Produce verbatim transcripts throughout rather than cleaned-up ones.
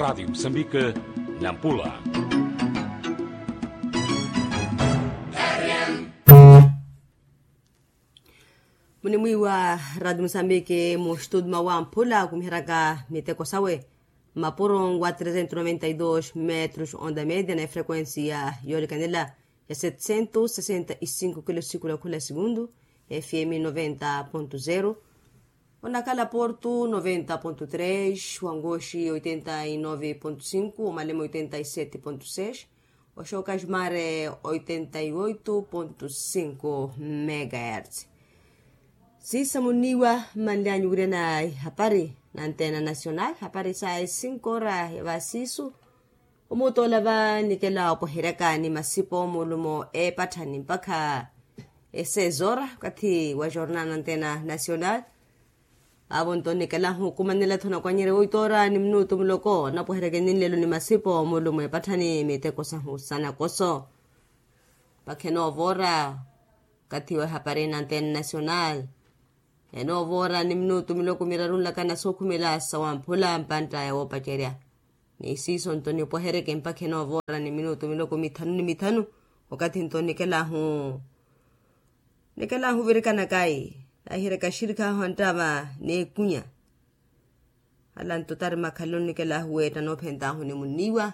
Radiyo musambike, nampula. Munimwiiwa radiyo musambike mu studio mawamphula kumiheraka miteko sawe, mapuro wa trezentos noventa y dos metros onda media na efrequencia yoolikanela ya setecentos sesenta y cinco kilo siku la khula segundu, fm noventa ponto zero. Onakala portu noventa ponto tres, wangoxi oitenta y nove ponto cinco, omalema oitenta y sete ponto seis, oxoka jumare oitenta y oito ponto cinco megahertz. Siisa muniwa mmanlyanyu wira na ihapari na antena nacional hapari sa esinko ora ya vasisu. Omutoola va nikela opweheryaka ni masipo mulumo eepatthani mpakha esezoora okathi wa jornal na antena nacional. Vaavo nto nikelahu okumanela-tho nakwanyerya oitoora ni minutu muloko napweheryaka eninlelo ni masipo mulumo eepatthani miteko sahu sanakoso. Mpakha enoovoora okathi wa ehapari na antena nacional. Enoovoora ni minutu miloko miraru nlakana sookhumela sawamphula mpantta ya woopacerya. Ni siiso nto nipweheryeke mpakha enoovoora ni minutu miloko mithanu ni mithanu. Okathi nto nikelahu nikelahu ovirikanaka ayi, nahiryaka axirikhahu anttava n'ekunya. Ala nto tari makhalelo nikelahu weetta anoophentahu ni muniiwa.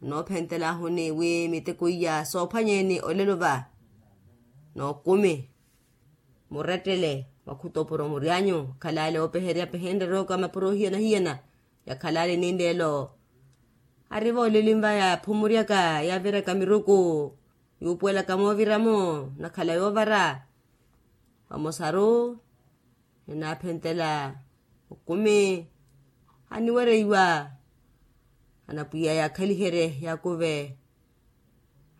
Anoophentelahu ni wi miteko iya soophwanyeeni olelo va n'okumi. Murettele makhuto opuro muryanyu. Khalaale oopeherya pehenreryoka mapuro ohiyana-hiyana. Yakhalaale ninleelo ari voolelini va yaaphumuryaka yaaviryaka miruku yuupuwelaka mooviramo. Nakhala yoovara vamosaru enaaphentela okumi. Aniwereiwa anapwiya yaakhaliherye yaakuve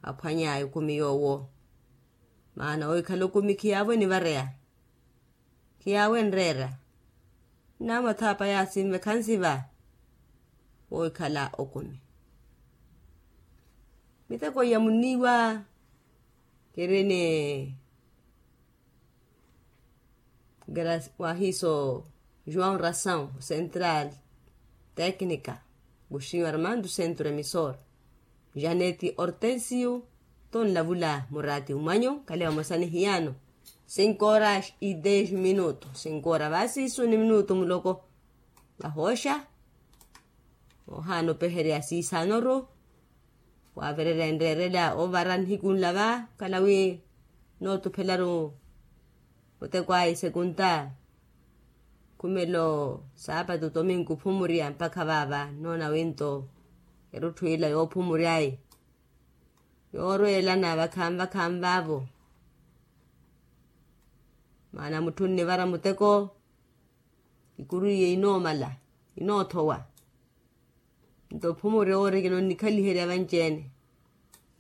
aphwanya ekumi yoowo. Maana oikhala okumi khiyaavo enivareya. Khiyaavo enreera. Nnaamwathaapa yaasinve khansiva woikhala okumi. Miteko iya muniiwa kiri ni wahiiso joão ração central técnica, guxinho armando centro emissor, janete hortensio. Tonlavula murati umwanyu khale vamosa ni hiyaano. Cinco horas y dez minuto cinco horas vasiisu ni minuto muloko. Vahooxa ohaana opeherya siisaanoru. Waavererya enreerela ovara nihiku nla va okhala wi nootuphelaru muteko ayi sekunta. Khumelo saapatu tominku ophumurya mpakha vaava noona winto erutthu ila yoophumurya ayi yoorweelana vakhaani vakhaani vaavo. Maana mutthu onnivara muteko ikuru iye inoomala inoothowa. Nto ophumurya owoorikina onnikhaliherya vanci-ene